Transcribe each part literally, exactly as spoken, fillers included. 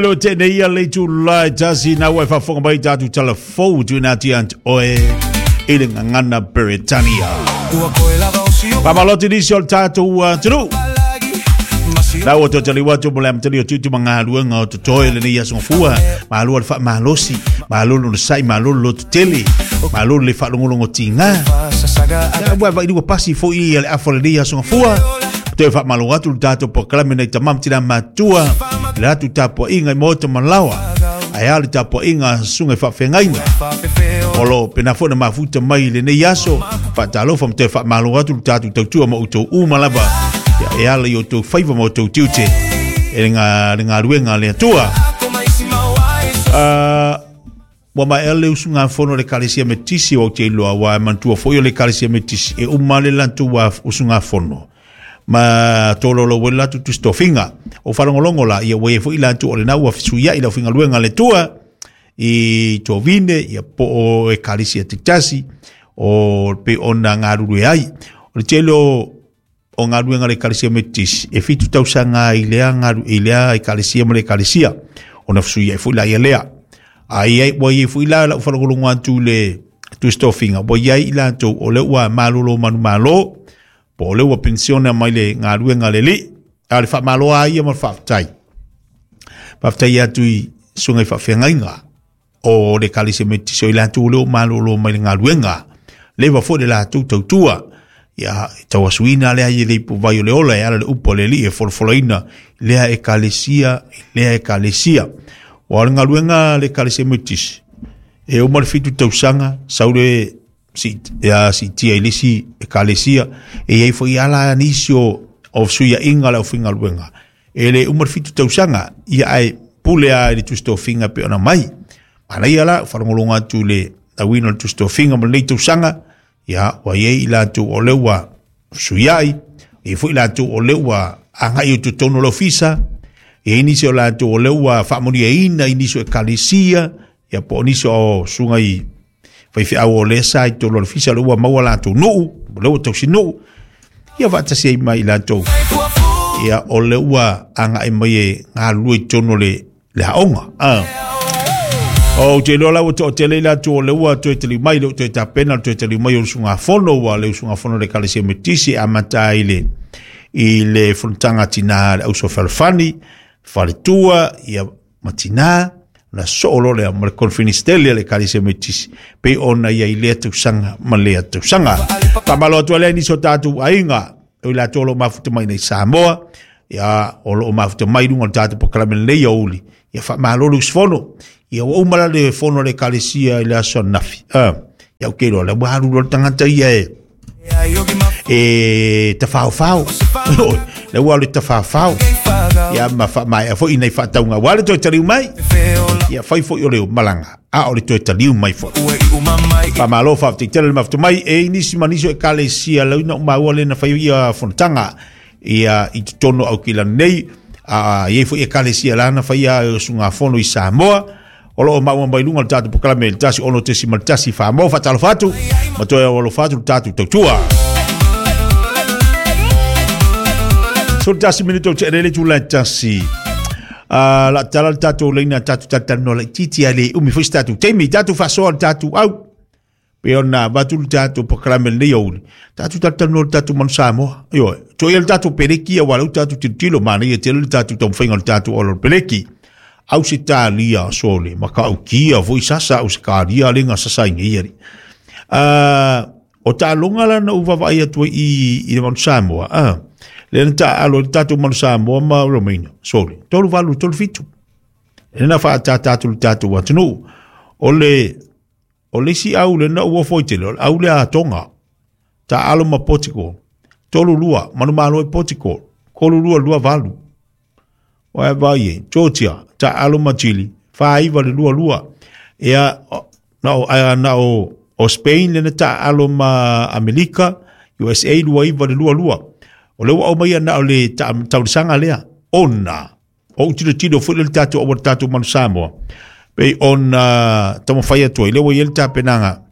Lo tene ia le tula tasi na ua faafofoga mai tatou talafou tuuina atu ia te oe i le gagana Peretania. Faamalo atu nisi o le tatou atunuu. La ua toe taliu atu mo le amatalia o tiute ma galuega o totoe lenei aso gafua. Malo le faamalosi, malo le onosai, malo le lototele, malo le faalogologo tiga. Ua vaai ua pasi foi ia le afa o lenei aso gafua. Toe faamalo atu le tatou polokalame nei tama ma tina matua, le atu tapuaiga i maota ma laoa, ae a le tapuaiga a susuga i faafeagaiga o lo o pena foi na mafuta mai i lenei aso. Faatalofa ma toe faamalo atu le tatou tautua ma outou uma lava e ala i outou faiva ma outou tiute e le galuega a le Atua. Ua maea le usugafono o le Ekalesia Metisi o Aotearoa, ua manatua foi o le Ekalesia Metisi e uma le latou usugafono ma tololo ua latou tusi-tofiga o faalogologo la ia ua ia foi latou o lena ua fesuiai le aufaigaluega a le Atua i tovine ia po o Ekalesia taitasi o pe ona galulue ai. O le tele o o galuega a le Ekalesia Metisi e fitu tausaga i lea galu i lea Ekalesia ma le Ekalesia ona fesuiai foi la ia lea. Ai ai ua iai foi la lau faalogologo atu i le tusi-tofiga ua iai i latou o lea ua malolo manumalo po o lea ua penisione mai le galuega a le alii. A o le faamalo a ia ma le faafetai. Faafetai atu i susuga i faafeagaiga o le Ekalesia Metisi o i latou o lea ua malolo mai le galuega. Leva foi le latou tautua. Ia tauasuina lea i le ipuvai o le ola e ala le upu a le alii e folafolaina lea Ekalesia lea Ekalesia. Ua o le galuega a le Ekalesia Metisi e uma le fitu tausaga sau le si ia siitia i le isi Ekalesia e iai foi ala nisi o o fesuiaiga le aufaigaluega e le uma le fitu tausaga ia ae pule a i le tusi-tofiga pe ona mai. Manaia la faalogologo atu i le lauina o le tusi-tofiga ma lenei tausaga ia ua iai i latou o lea ua fesuiai, ia foi latou o lea ua agai i totonu o le ofisa, e iai nisi o latou o lea ua faamanuiaina i nisi o Ekalesia, ia po o nisi o susuga i faifeau o lea sa i totonu o le ofisa o lea ua maua latou nuu, o lea ua tausinuu, ia faatasi ai ma i latou ia o lea ua agai mai e galulue i totonu o le, le aoga. Ah. O te iloa la ua toatele i latou o lea ua toe taliu mai, lea ua toe tapena le toe taliu mai o le usugafono, ua le usugafono o le Ekalesia Metisi e amata ai i le, i le fonotaga a tina le Auso Fealofani, faletua, ia ma tina, na soo loa lea ma le conference tele a le Ekalesia Metisi, pei ona ia i lea tausaga ma lea tausaga. Faamalo atu ai lea i nisi o tatou aiga, o i latou o lo o mafuta mai nei Samoa, ia o lo o mafuta mai i luga o le tatou polokalame lenei aoauli, ia faamalo le usufono. Ia ua uma la le fono a le Ekalesia i le aso ananafi. Ah, ia ou te iloa lea ua alu loa le tagata ia e e tafaofao. Lea ua alu e tafaofao. Ia ma faamaea foi nei faatauga aua le toe taliu mai. Ia fai foi o le malaga, a o le toe taliu mai foi. Faamalo faafetai tele le mafuta mai e i nisi ma nisi o Ekalesia lauina o maua le na fai ia fonotaga ia i totonu o Aukilani nei. A iai foi Ekalesia la na fai ia usugafono i Samoa o lo o maua mai luga o le tatou polokalame le tasi ono tesi ma le tasi. Faamalo faatalofa atu ma toe alofa atu le tatou tautua. Sefulu tasi minute o tea le itula e tasi. Uh, la tala le tatou leina tatou talatalanoa laitiiti a le umi foi se tatou taimi tatou faasoa le tatou au pe ona avatu le tatou polokalame lenei aoauli tatou talatalanoa le tatou manu Samoa. Ioe, toia le tatou peleki aua lea ua tatou tilotilo manaia tele le tatou taumafaiga o le tatou auala o le peleki. Ausetalia sole ma kaukia foi sasa Ausetalia le ga sasa ai nei ali. Uh, o taaloga la na ou vaavaai atu ai i, i le manu Samoa, ah, lea na taaalo ai le tatou manu Samoa ma Romania, sole, tolu valu, tolu fitu. E na faatātā atu le tatou atunuu. O le, o le isi au lea na ou ofo ai tele, o le au lea a Tonga, taaalo ma Portugal, tolu lua, manumalo ai Portugal, tolu lua, lua valu. Wae vai e, Georgia, taaalo ma Chile, faaiva le lua lua. Ia, na o, na o, o Spain lea na taaalo ma Amerika, U S A lua iva le lua lua. O lea ua aumaia na o le taulisaga lea, ona o ou tilotilo foi le tatou aua le tatou manu Samoa, pei ona taumafai atu ai, lea ua i ai le tapenaga,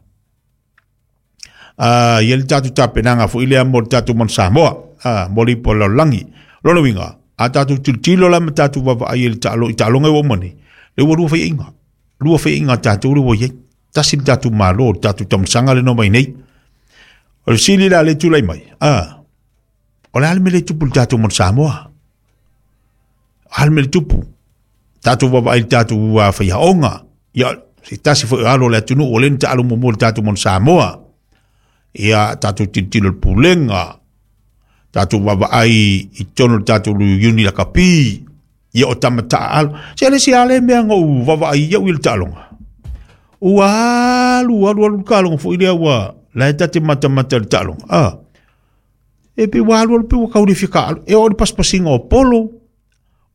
uh, i ai le tatou tapenaga foi lea mo le tatou manu Samoa, uh, mo le ipu o le lalolagi. Lona uiga, A tātou tilotilo la ma tātou vaavaai i le taalo i taaloga e ua uma nei le ua lua faiaiga lua faiaiga a tatou le ua iai tasi le tatou malo le tatou tamasaga le mai nei. O le sili la le tulai mai a o le a le mea le tupu i le tatou motu Samoa a le mea le tupu tatou vaavaai i le tatou faiaoga ia se tasi foi o alo o le atunuu o lea na taalo muamua i le tatou motu Samoa ia tatou tilotilo i le pulega tatou vaavaai i totonu o le tatou uni lakapi ia o tamataa alo se le si ale mea na ou vaavaai ia'u i le taaloga ua alu alu alu le taaloga foi lea ua la e tate matamata i le taaloga a e pe ua alu alu pe ua kau le fia kaalo e oo i le pasipasiga o polo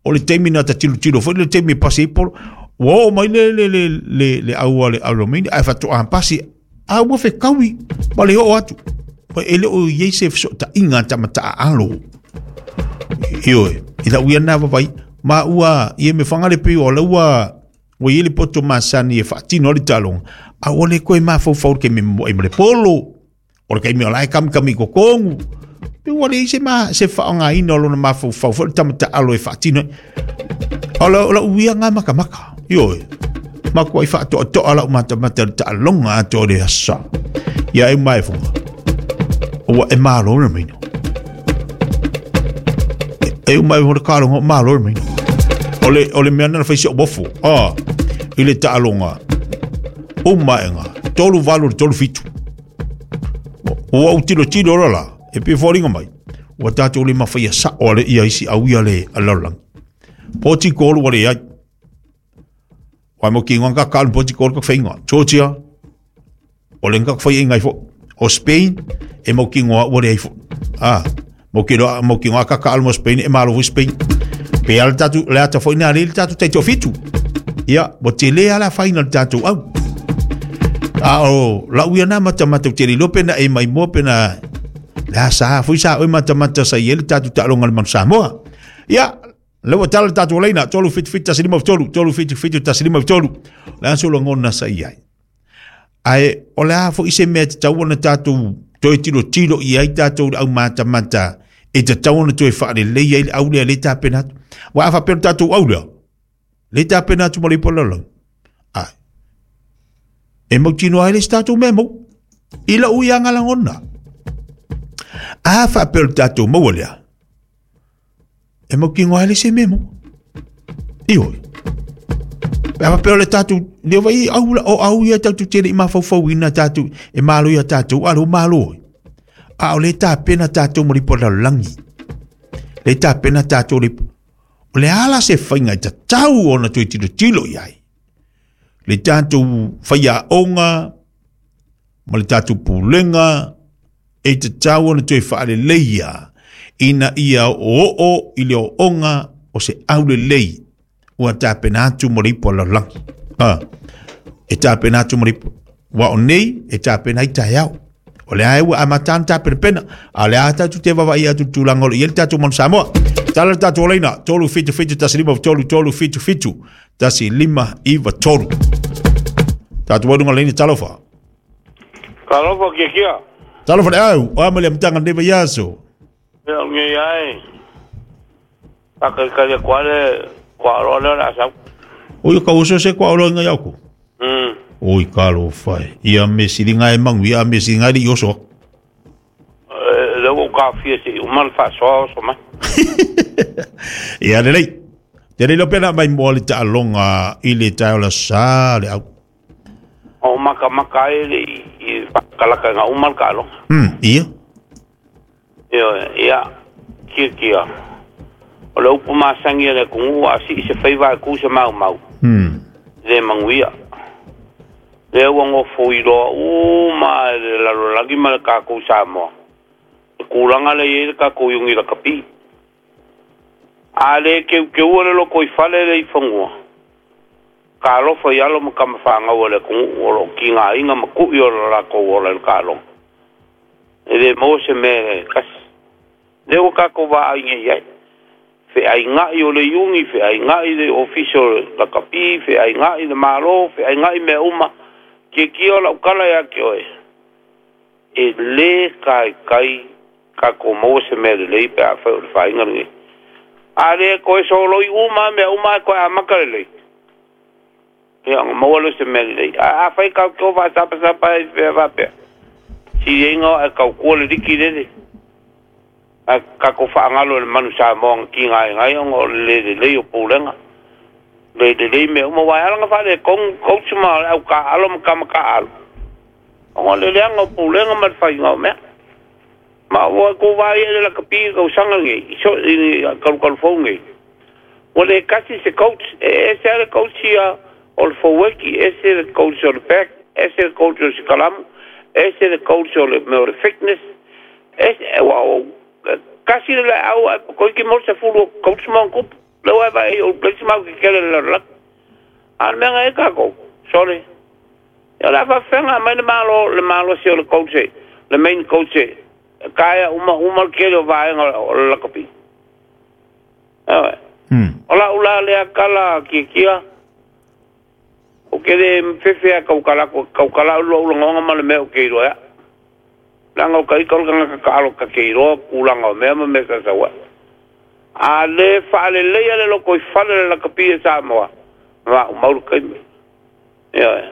o le taimi na ta tilotilo foi le taimi e pasi ai polo ua oo mai le le le le le au a le alomini ae faatoa pasi a ua fekaui ma le oo atu e le o iai se fesootaiga a tamataa alo ioe i lau ia na vaavaai ma ua ia me faga le pei o la ua ua iai le poto masani e faatino ai le taaloga a ua le koe mafaufau i le taimi momo'i ma le polo o le taimi o la e kamikami i totonu pe ua leai se ma se faaaogaina o lona mafaufau foi le tamataalo e faatino ai o la o lau ia ga makamaka ioe makuai faatoatoa lau matamata i le taaloga atoa o le asa ia e mae foga ua e malo le maina e uma e le taaloga o malo le maina o le o le mea na fai si o mofo a i le taaloga uma ega tolu valu le tolu fitu ua ou tilotilo la la e pe foliga mai ua tatou le mafaia sa'o ale ia isi au ia le lalolagi poti kolu ua leai ua mo ki nganga ka poti kolu ka faiga Georgia o le nga fai ngai fo o Spain e mo ki ngoa ua leai fo a mo ki lo mo ki ngoa ka ka mo Spain e malo fo Spain pe ala tatu le ata foi na le tatu tai fitu ia mo tele ala fai na tatu au a o la uia na mata mata tele lo pena e mai mo pena la sa foi sa o mata mata sa ie le tatu taaloga le manu Samoa ia le ua tala le tatou laina tolu fitu fitu tasi lima tolu tolu fitu fitu tasi lima tolu le aso lagona sa i ai ae o le a foi se mea tatau ona tatou toe tilotilo i ai tatou le aumatamata e tatau ona toe faalelei ai le au lea le tapena atu ua a faapea le tatou au lea le tapena atu ma le ipu a le lalolagi ae e mautinoa ai le isi tatou mea mau i lau ia lagona a faapea le tatou maua lea e mautinoa ai le isi mea mau ioe pe a faapea o le tatou lea vai au o au ia tatou te le i mafaufauina tatou e malo ia tatou a le ua malo a o le tapena tatou ma le ipu a le lalolagi le tapena tatou le o le ala se faiga e tatau ona toe tilotilo i ai le tatou faiaoga ma le tatou pulega e tatau ona toe faaleleia ina ia o'oo'o i le ooga o se aulelei ua tapena atu mo le ipu a le lalolagi a e tapena atu mo le ipu ua o nei e tapena ai taeao o le a e ua amata ona tapenapena a o le a tatou te vaavaai atu i le tulaga o lo o i ai le tatou manu Samoa tala le tatou laina tolu fitu fitu tasi lima tolu tolu fitu fitu tasi lima iva tolu tatou waluga laina talofa Talofa kia kia. Talofa le au o ama le amataga lenei vaiaso Ia o ngei ai. Whakaikari koa le koa aloa lea o le asau. Oi ka oso se koa aloa inga iau Mm. Oi ka alofa e. Ia me silinga e mangu ia me silinga e le i oso. E, le ua ka fia se i uma le faasoa oso mai. Ia lelei. Te lei pena mai moa le taaloga i le taeo la sa le au. O maka maka ai le i, i whakalaka ngā uma le kaaloga. Hmm, ia. Ia, ia, kia kia. O le upu masangi a le kungu a si se whaiva e ku se mau mau. Hmm. Le manguia. Le ua ngofo i loa uma e le lalolagi ma le kākou Samoa. Le kūlanga le iei le kākou iungi la kapi. A le keu keua le loko i fale le i whangua. Ka alofa i alo ma kama whangau le kungu o lo ki ngā inga ma kui o le lākou o le kālonga. E le mo se me kasi. Le ua kākou vā inga iai. Fe ai ngai o le iungi, fe ai ngai le ofisi o la kapi, fe ai ngai le malo, fe ai ngai mea uma. Ke kia o lau kala ia ke oe. E le kai kai kākou maua se mea lelei pe a whai o le whainga lenei. A le koe soloi uma mea uma koe amaka lelei. Ia maua lo se mea lelei. A afai kau ke o faasapasapa e fea faapea. Siliaiga e kaukua le liki lele. A kakou faagalo e le manu Samoa ga tigaegae ona o le lē lelei o pulega. Le lelei mea uma uae ala ga faaletonu coach ma le aukaaalo ma kamakaaalo. Ona o le leaga o pulega ma le faiga o mea. Ma ua kou vaai e le lakapi i tausaga nei, i so i kalukalu fou nei. Ua le kasi se coach, e ese lava le coach ia o le forward, ese le coach o le back, ese le coach o le sikalamu, ese le coach o le mea o le fitness, ese, ua o kasi le laau ae toeitiiti maua le sefulu o coach ma ona tupu. Lea ua e vaai o le isi mau kekele i le lalolagi. A o le mea na i ai tatou, sole. Ia o le a faafefea aumai le malo le malosi o le coach e, le main coach e taea uma uma le tele o vaega o le lakapi. Ioe. O lau la lea tala kiakia, ou te le fefe lava e tautala atu, e tautala au i lou lagona ma le mea ou te iloa ai. Leaga o ita o le tagata taalo ta te iloa tulaga o mea ma mea sa sau ai. A le faaleleia le lotoifale o le lakapi e Samoa, maumau le taimi. Ioe.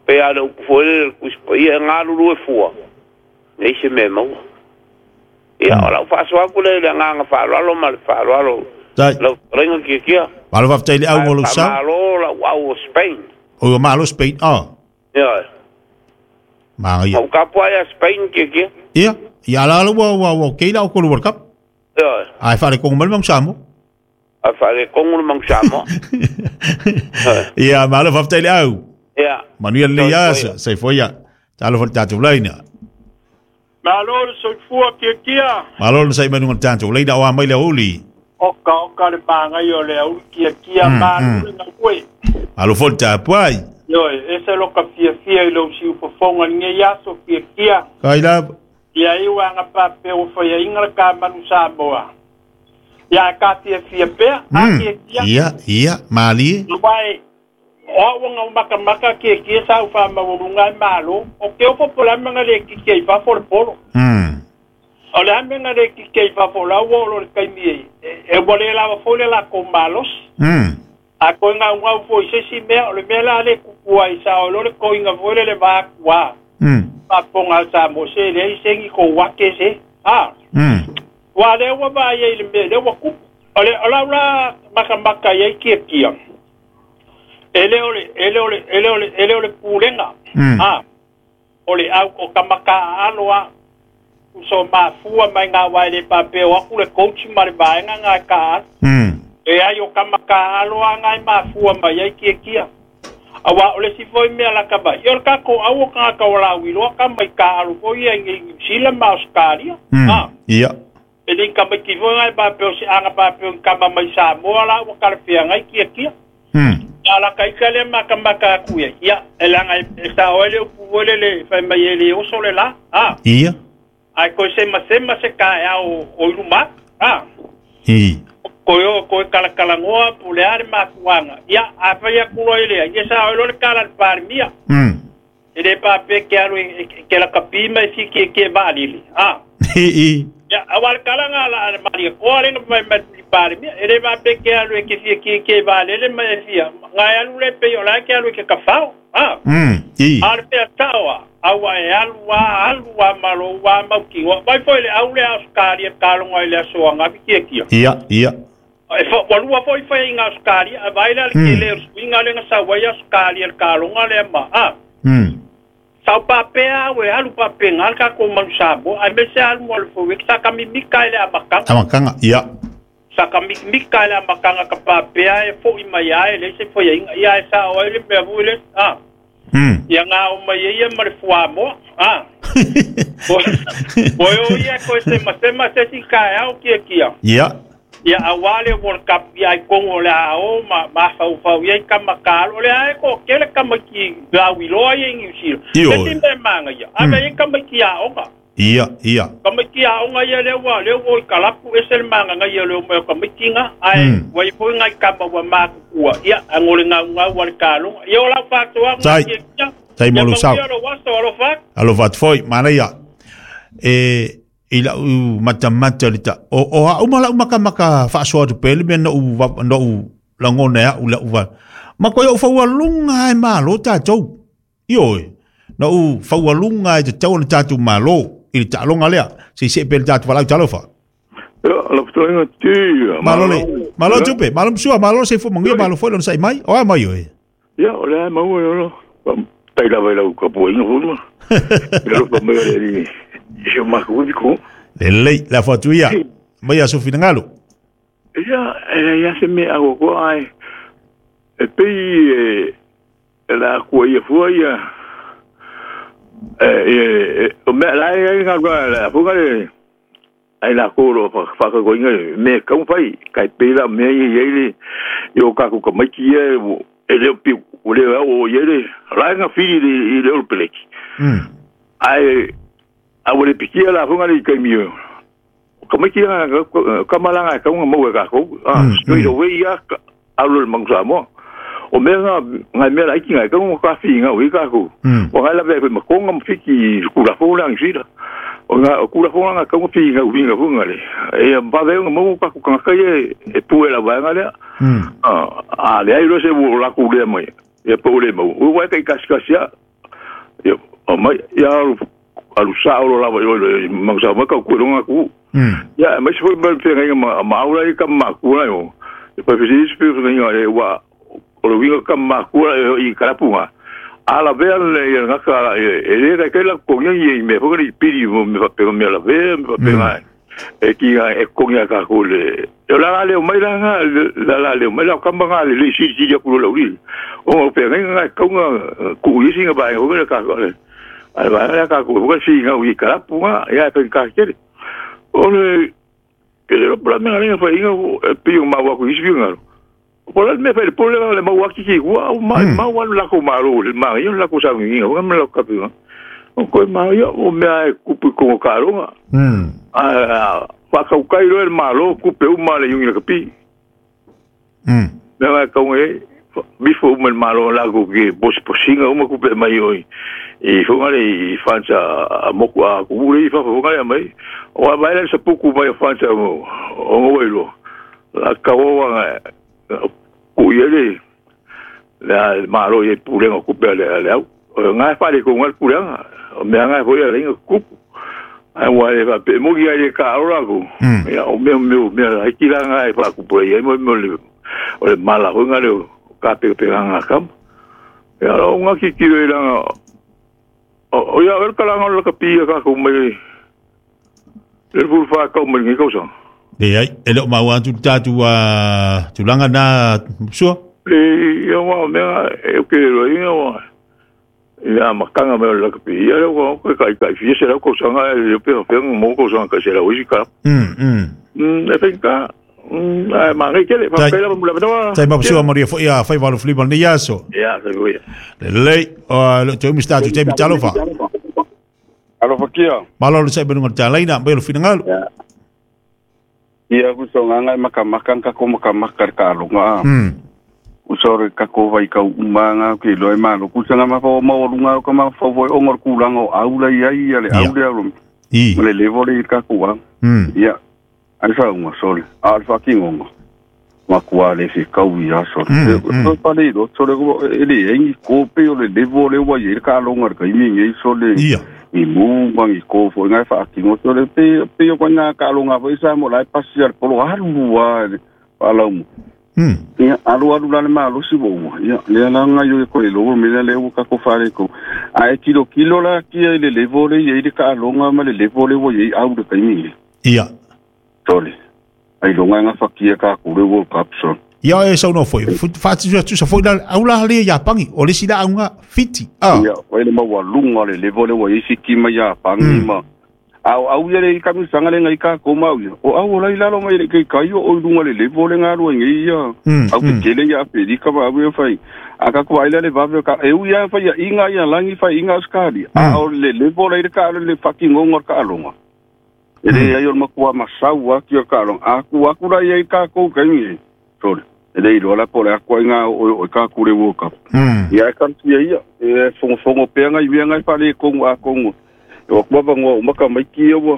Pei lava o le upu foi lele i le Tusi Paia, e galulue fua, leai se mea e maua. Ia, o lau faasoa atu lea i le agaga faaaloalo ma le faaaloalo lau fetalaiga Tiatia. Malo faafetai i le au o lou Ae sao. faamalo lau au o Spain. Oi ua malo Spain, oh. Ioe. Magaia. Ma ua tapuai ia Spain Tiatia. Ia, ia ala ala ua ua ua okay la o World Cup. Ioe. Ae faaletonu mai le Manu Samoa. Ae faaletonu le Manu Samoa. Ia, malo faafetai i le au. Ia. Manuia lenei aso, soifua ia. Talofa i le tatou laina. Malo le soifua kiakia. Malo le sai mai luga o le tatou laina o a mai le aoauli. Oka oka le magai o le auli kiakia malo le gaue. Malo foi le tapuai. Ioe, ese lo ka fiafia i lou siufofoga i lenei aso kiakia. Kai lava. Ia iu aga pape ua faiaina le kamanu Samoa. Ia ka fiafia pea, a kiakia. Ia, ia, malie. Aua e o au anga makamaka kiakia sa u faamaualuga ai malo. O ke ofo po le a mea na le kiki ai fafo le polo. Mm. O le a mea na le kiki ai fafo la ua oo loa i le taimi e, e ua le lava foi le lakou malosi. Mm. A toe gaugau foi i se isi mea, o le mea la le kupu ai sa o lo le koiga foi le le va atu a. Mm. Faafofoga a le Samoa se leai se ni kou ake se. A. Mm. Ua lea ua vaai ai i le mea lea ua kupu. O le o lau la makamaka i ai kiakia. E le o le e le o le e le o le e le o le pulega. Mm. A. O le au o kamaka aalo a. So mafua mai ngā wai le pape o aku le coach ma le vaega ngā ka alo. Mm. E ai o kamaka aalo a ngai mafua mai ai kiakia. Aua o le si foi mea la ka vai. I o le kako au o kangaka o la uiloa ka mai ka alo foi ia i New Zealand ma Australia. Mm. A. Ia. E le ka mai ki foi ngai pape o se anga pape o kama mai Samoa la ua kalawhea ngai kiakia. Mm. Ia la ka ika le makamaka aku ia. Ia, e langa e sa oe le upu foi le le whai mai e le oso le la. A. Ia. Ai koe sema sema se ka e ao o ilu ma. A. I. Koe o koe kalakalangoa po le a le mafuanga. Ia, a whai aku loa i lea. Ia sa oe lo le kala le parimia. Mm. E le pape ke alu e ke la kapi mai si ke ke vaalili. A. I i. Ia, awa le kala ngā la le maria koa le nga mai mai li parimia. E le pape ke alu e ke fia ke ke vaalele mai e fia. Ngā e alu le pe o la ke alu e ke kawhao. A. Mm. I. A le pea taoa. Aua e alu a alu a malo a mau ki. Vai foi le au le Australia kalonga i le aso anga ki kia. Ia, ia. E fa walua foi foi inga Australia a vai la le Mm. le swinga le nga sa wai Australia le kalonga le ma. A. Mm. Sau papea we alu pape ngal ka ko manu sabo ai me se alu mo le foi sa ka mimika le amakanga. Amakanga, ia. Sa ka mimika le amakanga ka papea e foi mai ai le se foi inga ia e sa o le me vu le. A. Mm. Ia ngā o mai ia ma le fuamoa. A. Poi o ia koe sema sema se si ka e au kia kia. Ia. Ia a wale World Cup ia i kongo le a o ma ma fau fau ia i kama ka alo. Le a e ko kele kama ki la wiloa ia i New Zealand. Io. Se ti me manga ia. A me i kama ki a onga. Ia, ia. Kama ki a onga ia le wa le wo i kalapu e se le manga nga ia le o mai o kama ki nga. Ai Mm. wa i poi ngai kama wa makukua. Ia a ngole ngau ngau wa le kalonga. Ia o lau whātua Tai. nga kia kia. Tai Ia mo lo mau sau. ia lo waso alo whak. Alo fat foi, mana ia. E I lau matamata le ta o o a uma lau makamaka faasoa atu pea le mea na ou na ou lagona e a'u la'u va ma koe ou faualuga ai malo tatou ioe na ou faualuga ai tatau ona tatou malo i le taaloga lea seisee pea le tatou valaau talofa. Malo le malo tupe malo msua malo seifua manuia malo foi lona sa'i mai o a mai oe. Ia o le a maua e olo tai lava i lau kapuaiga foi ma i alofa mai o le alii i si o makou ivi ko. Lelei le afo atu ia mai aso finagalo. Ia e leai a se mea akoakoa ae e pei e e la akua ia fua ia e e o mea la e ai galuega le afuga le ai lakou o loo faakakoina mea e tatau ona fai kai pei la o mea ia i ai le i o tatou tamaiti ia e le o piu ua le ao i ai le la e gafili i le olopeleki ae a ua le pikia la afuga le i taimi o tamaiti kamalaga e tatau ona maua e tatou straight away ia alu le Manu Samoa. O mea nga ngai mea laiti ngai kau ka finga ui ka ku. O ngai la ve ma konga ma fiki kula fo la ngisira. O nga kula fo nga kau finga ui nga funga le. E ba ve nga mo ka ku ka ka ye e pu la ba nga le. A le ai lo se wo la ku le mai. E po le mo. O wa ka ka ka sia. E o mai ya alu sa o la va yo le ma sa ma ka ku nga ku. Ya mai se foi ba fe nga ma ma ula i ka ma ku la yo. E pa fe se fe nga e wa o le uiga ka makua i kalapuga a lavea le ia gaka e lē kaikai la kogia ia i mea foi le pili mo me faapega mea lavea me faapega e kiga e kogia a takou le o la la leo mai la ga la la leo mai la kama ga le le silisili aku lo laulili ona o feagaiga ga e kauga ku'u isi ga vaega foi le takou le a le vaega lea takou foi siga ui kalapuga ia e faigata tele o le ke le lopo la mea lega faiga e pei o mau aku isi finagalo. O la me fai pole le mau aki ki ua o mai mau alu la ko maru le mai la ko sa ngi o me la ka pi. O ko mai o me ai kupu ko karonga. Mm. A pa ka kai lo el malo kupe o male yungi ka pi. Mm. Me va ka ngi bifo o malo la ko ke bos posinga o ma kupe mai oi. E fonga le fansa a moku a ku le fa fonga le mai. O a vai le sa puku mai fansa o o ngoi La ka o nga ku ia le le malo ia pulenga kupe le le au ngai fale ko ngai pulenga o mea ngai foi le kupu ai wa e va pe mo ia le ka ora ku ia o mea mea mea ai kila ngai fa kupu ia mo mo le o le mala ho ngai le ka pe pe nga kam ia o nga ki ki le nga o ia el kala nga ka pi ka ku mai le fu fa ka mai ngi ko sa. Le ai, e leo mau atu tātu a tulaga nā sua? Le ia wā mea e ke roa inga wā. Ia makanga mea o le lakapi. Ia leo wā kai kai kai fia se lau kausanga e leo pea pea mō kausanga kai se lau isi ka. Mm, mm. Mm, e whenka. Mm, ai mangai kele. Whakaila mula manoa. Tai mapasua maria fo ia whai walu flima ni aso. Ia, sai ia. Le lei, o leo te umi statu te mi talofa. Alofa kia. Malo le sai benunga tālaina, mai o le finangalo. Ia. Ia uso nganga makamaka ka ko makamaka ka longa. Mm. Uso re ka ko vai ka umanga ke loe malo ku sanga ma fo mo lunga ka ma fo voi ongor kulanga o aula ia ia le aula lo. I. Le levo le ka ku wa. Mm. Ia. Ai sa unga sole. Al fa ki ngonga. Ma ku ale fi ka u ia sole. So pa le lo sole ko ele engi ko pe o le levo le wa ia ka longa ka imi ngi sole. Ia. I mu mangi ko fo ngai fa ki ngo tole pe pe ko na ka longa fo isa mo lai pasi al polo alu wa ala mu mm ia alu alu la ma lo si bo ia le la nga yo ko le lo me le o ka ko fare ko a e kilo kilo la ki le le vo le ye ka longa ma le le vo le wo ye au de kai mi ia tole ai longa nga fa ki ka ku le wo cup so ia e sau no foi fa ti tu sa foi la aula le ya pangi o le sila aunga fiti ah ia o le maua lunga le levo le wa isi ki ma ya pangi ma au au ia le kami sanga le ngai ka ko mau ia o au la ila lo mai le kai kai o lunga le levo le ngalo ngai ia au ke tele ia pedi ka ba au fai aka ko aila le vave ka e u ia fai inga ia langi fai inga skali a o le levo le ka le fucking ngongo ka longa ele ia yo makua masau a ki ka longa aku aku la ia ka ko kai ni sorry ele ilo la pole akua inga o o ka kure wo ka ia ka tia ia e fongo fongo pe ngai me ngai pale kongo a kongo o kwa bango maka mai ki o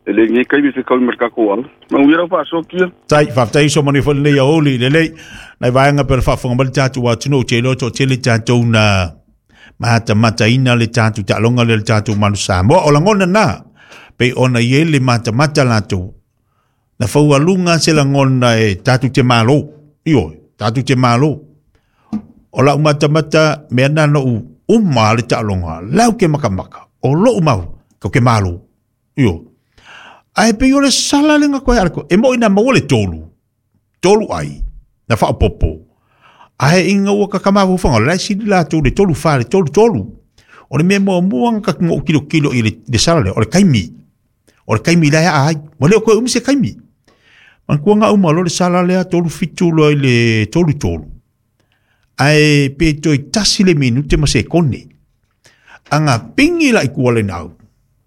E le nge kai se kau ma ka ko au. Ma ngi ra fa so kia. Tai faafetai so mani fo lenei aoli lelei nai vaega pe le faafofoga mai le tatou atunuu te iloa toatele tatou na matamataina le tatou taaloga lea le tatou Manu Samoa. O lagona na pei ona i ai le matamata latou na faualuga se lagona e tatou te malo, ioe, tatou te malo. O lau matamata mea na noʻu uma le taaloga lau ke makamaka o lou mau kau ke malo, ioe. Ae pei o le sala le koe ala ko e mo ina maua le tolu tolu ai na faapopo ae inga ua kakamafaufauga la sili latou le tolu fa le tolu tolu o le mea muamua ga kakugo'u kilokilo i le, le sala lea o le kaimi o le kaimi la ea ai ua le o koe umi se kaimi manatua ga uma lo le sala lea tolu fitu loa i le tolu tolu ae pe toe tasi le minute ma sekone aga pingi la i kua le nau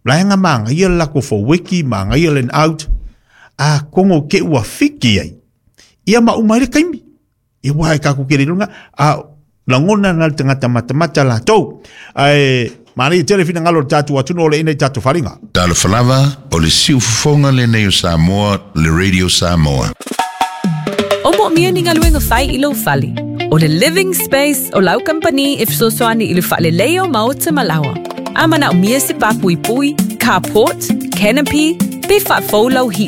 la anga maga ia le lako faueki maga ia line out a kongo ke ua fiki ai ia ma uma i le kaimi ia ua e kaku kere lunga a lagona na le tagata matamata latou ae manaia tele finagalo o le tatou atunuu o le ina i tatou faliga. Talofa lava, o le siufofoga lenei o Samoa, le Radio Samoa. O moomia ni galuega fai i lou fale. O le Living Space o lau kampani e fesoasoani i le faaleleia o maota ma laoa. A manaomia se papuipui, carport, canopy, pe faafou lau heat.